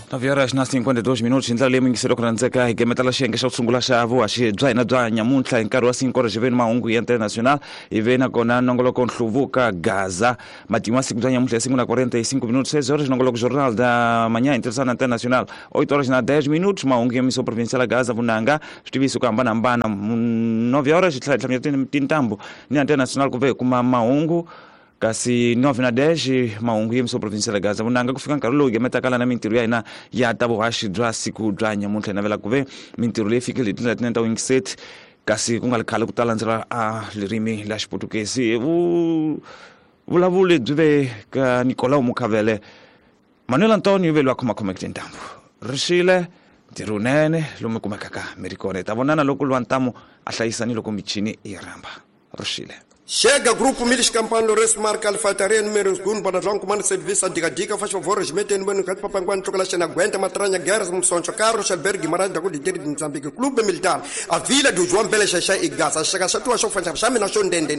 9 horas na 52 minutos hi ndlela leyi mingiselo ku rhandzeka hi gemetela xiyenge xa ku sungula xa vuhaxi bya hina bya nyamuntlha hi nkarhi wa 5 horas hi ve ni mahungu ya international hi ve nakona nongoloko nhluvuka gaza matimu ya siku bya nyamuntlha hi 5 na 45 minutos 6 horas nongoloko jornal da manhã interessana internacional 8 horas na 10 minutos mahungu ya missão provincial gaza vunanga switiviso ku hambanahambana 9 horas hi tlhela hi tlhamela tintambu ni international ku ve hi kuma mahungu kasi 9 na 10 mahungu ya missão provincial gaza vunanga ku fika nkarhi lowu gemetaka lana mintirho ya hina ya ta vuhaxi bya siku bya nyamuntlha hi navela ku ve mintirho leyi fikile hi tindlela tinene ta wingiset kasi ku nga ri khale ku ta landzela a ririmi la xiputukezi vu vulavuli byi ve ka nicolau mukhavele manuel antonio ve loyi a khomakhomeke tintambu ri xile ntirho wunene lomu kumekaka mi ri kona hi ta vonana loko lwa ntamu a hlayisa ni loko michini yi rhamba ri xile Chega grupo Milis Campano Lourenço Marca Alfataria número 2 Bonadlão Comando Serviço Dica Dica faz favor Regimento número 4 Papanguan Chocolate Xena Aguenta Matranha Guerras Msoncho Carlos Alberto Guimarães da Cordilheira de Moçambique Clube Militar a Vila do João Bela Xaxá e Gaza Chega Chatua Chofa Xamina Xondende.